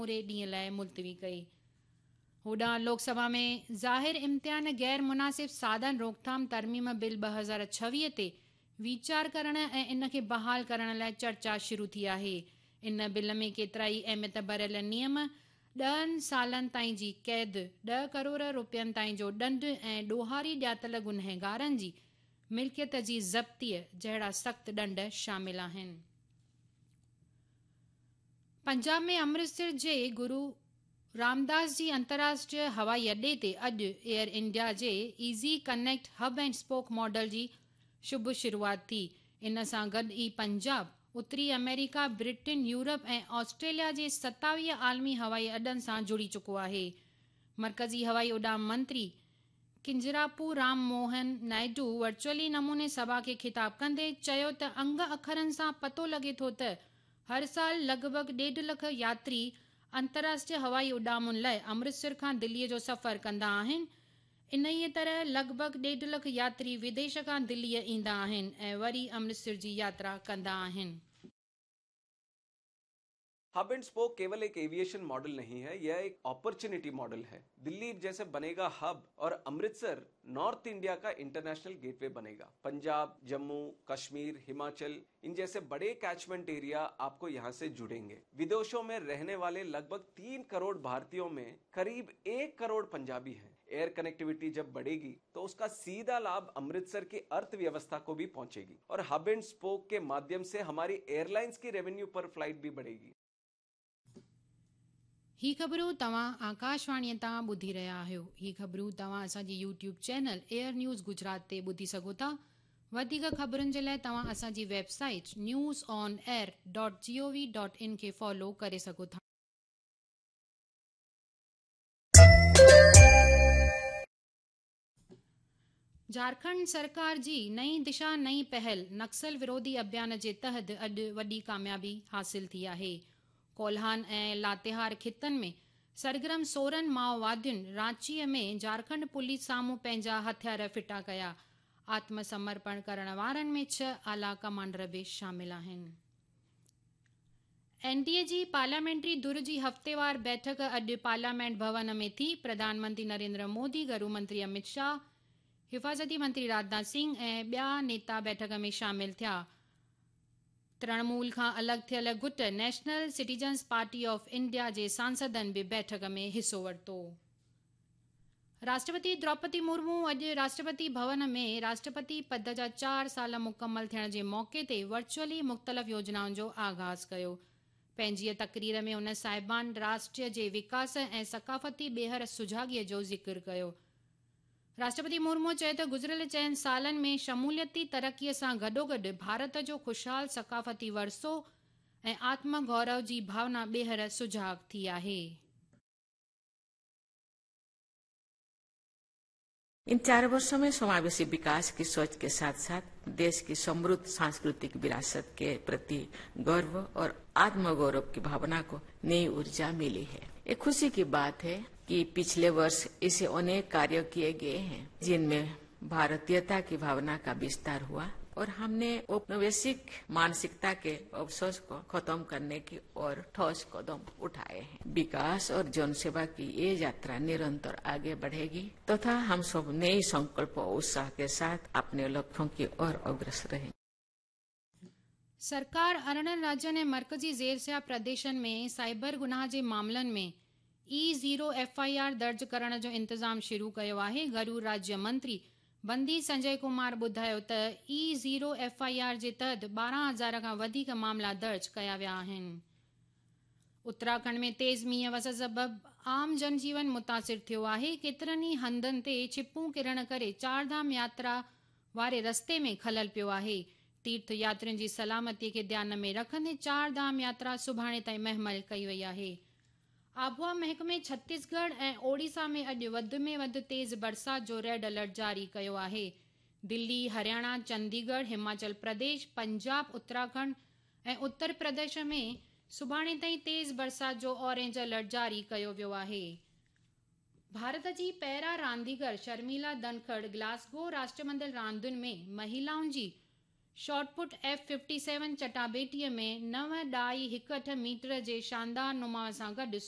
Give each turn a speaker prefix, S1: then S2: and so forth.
S1: سموري ڏينهن لاء ملتوي ڪئي. هوڏانهن لوڪ سڀا ۾ ظاهر امتحان غير مناسب ساڌن روڪٿام ترميم بل 2026 تي ويچار ڪرڻ ۽ ان کي بحال ڪرڻ لاء چرچا شروع ٿي آهي. ان بل ۾ ڪيترائي اهميت ڀريل نيم، 10 سالن تائين جي قيد، 10 ڪروڙ روپين تائين جو ڏنڊ ۽ ڏوهاري ڄاتل گنهگارن جي ملڪيت جي ضبطيء جهڙا سخت ڏنڊ شامل آهن. پنجاب ۾ امرتسر جي گرو رامداس جي انترراشٽريه هوائي اڏي تي اڄ ايئر انڊيا جي easy connect hub and spoke model جي شڀ شروعات ٿي. ان سان گڏ ئي پنجاب، اتري آمريڪا، برٽن، يورپ ۽ آسٽريليا جي 27 عالمي هوائي اڏن سان جڙي چڪو آهي. مرڪزي هوائي اڏام منتري ڪنجراپو رام موهن نائيڊو ورچوئلي نموني سڀا کي خطاب ڪندي چيو ته انگ اکرن سان پتو لڳي ٿو ته هر سال لڳ ڀڳ ڏيڍ لک ياتري انترراشٽريه هوائي اڏامن لاء امرتسر کان دلي جو سفر ڪندا آهن، انهيء طرح لڳ ڀڳ ڏيڍ لک ياتري وديش کان دليء ايندا آهن ۽ وري امرتسر جي ياترا ڪندا آهن.
S2: हब एंड स्पोक केवल एक एविएशन मॉडल नहीं है, यह एक अपॉर्चुनिटी मॉडल है। दिल्ली जैसे बनेगा हब और अमृतसर नॉर्थ इंडिया का इंटरनेशनल गेटवे बनेगा। पंजाब, जम्मू कश्मीर, हिमाचल, इन जैसे बड़े कैचमेंट एरिया आपको यहाँ से जुड़ेंगे। विदेशों में रहने वाले लगभग 3 करोड़ भारतीयों में करीब 1 करोड़ पंजाबी हैं। एयर कनेक्टिविटी जब बढ़ेगी तो उसका सीधा लाभ अमृतसर की अर्थव्यवस्था को भी पहुंचेगी और हब एंड स्पोक के माध्यम से हमारी एयरलाइंस की रेवेन्यू पर फ्लाइट भी बढ़ेगी।
S1: هي خبرون توهان آڪاشواڻيء تان ٻڌي رهيا آهيو. هي خبرون توهان اسان جي YouTube channel air news Gujarat تي ٻڌي سگهو ٿا. وڌيڪ خبرن جي لاء توهان اسان جي website news on air dot G O V dot in کي فالو ڪري سگهو ٿا. جهارکنڊ سرڪار جي نئين دشا نئين پهل نڪسل وروڌي اڀيان جي تحت اڄ وڏي ڪاميابي حاصل ٿي آهي. ڪولهان ۽ لاتيهار خطن ۾ سرگرم 16 مائووادين رانچيء ۾ جهارکنڊ پوليس سامهون پنهنجا هٿيار ڦٽا ڪيا. آتم سمرپڻ ڪرڻ وارن ۾ 6 اعليٰ ڪمانڊر به شامل آهن. اين ڊي اي جي پارليامينٽري ڌر جي هفتيوار بيٺڪ اڄ پارليامينٽ ڀون ۾ ٿي. پرڌان منتري نريندر مودي، گهرو منتري امت شاهه، حفاظتي منتري راجناٿ سنگهه ۽ ٻيا نيتا بيٺڪ ۾ شامل ٿيا. ترڻمول کان الڳ ٿيل گٽ national citizens party of India جي سانسدن به بيٺڪ ۾ حصو ورتو. راشٽرپتي دروپدي مرمو اڄ راشٽرپتي ڀون ۾ راشٽرپتي پد جا 4 سال مڪمل ٿيڻ جي موقعي تي ورچوئلي مختلف يوجنائن جو آغاز ڪيو. پنهنجيء تقرير ۾ هن صاحبان راشٽر جي وڪاس ۽ ثقافتي ٻيهر سجاڳيء جو ذڪر ڪيو. راشٽرپتي مرمو چيو ته گذريل 4 سالن ۾ شموليتي ترقيء سان گڏوگڏ ڀارت جو خوشحال ثقافتي ورثو ۽ آتم گورو جي ڀاونا ٻيهر سجاڳ ٿي آهي.
S3: इन 4 वर्षों में समावेशी विकास की सोच के साथ साथ देश की समृद्ध सांस्कृतिक विरासत के प्रति गर्व और आत्मगौरव की भावना को नई ऊर्जा मिली है। एक खुशी की बात है कि पिछले वर्ष ऐसे अनेक कार्य किए गए हैं जिनमें भारतीयता की भावना का विस्तार हुआ और हमने औपनिवेशिक मानसिकता के अवशेष को खत्म करने की ओर ठोस कदम उठाए हैं। विकास और जनसेवा की ये यात्रा निरंतर आगे बढ़ेगी तथा हम सब नए संकल्प और उत्साह के साथ अपने लक्ष्यों की ओर अग्रसर रहेंगे।
S1: सरकार 18 राज्यनि ऐं मर्कज़ी ज़ेर प्रदेशनि में साइबर गुनाह जे मामलनि में ई ज़ीरो एफ I R दर्ज करण जो इंतज़ाम शुरू कयो आहे। घरू राज्य मंत्री बंदी संजय कुमार ॿुधायो त ई ज़ीरो एफ I R जे तहत 12,000 खां वधीक मामला दर्ज कया विया आहिनि। उत्तराखंड में तेज़ मींहं वस सबब आम जनजीवन मुतासिर थियो आहे। केतिरनि ई हंधनि ते छिपूं किरण करे चारधाम यात्रा वारे रस्ते में खलल पियो आहे। तीर्थ यात्रियुनि जी सलामतीअ खे ध्यान में रखंदे चार धाम यात्रा सुभाणे ताईं महमल कई वई आहे। आबहावा महकमे छत्तीसगढ़ ऐं ओडिशा में अॼु वधि में वधि तेज़ बरसात जो रेड अलर्ट जारी कयो आहे। दिल्ली, हरियाणा, चंडीगढ़, हिमाचल प्रदेश, पंजाब, उत्तराखंड ऐं उत्तर प्रदेश में सुभाणे ताईं तेज़ बरसात जो ऑरेंज अलर्ट जारी कयो वियो आहे। भारत जी पैरा रांदीगर शर्मिला धनखड़ ग्लासगो राष्ट्रमंडल रांदियुनि में महिलाउनि जी शॉटपुट F57 चटाबेटीअ में 9.18 मीटर जे शानदार नुमाउ सां गॾु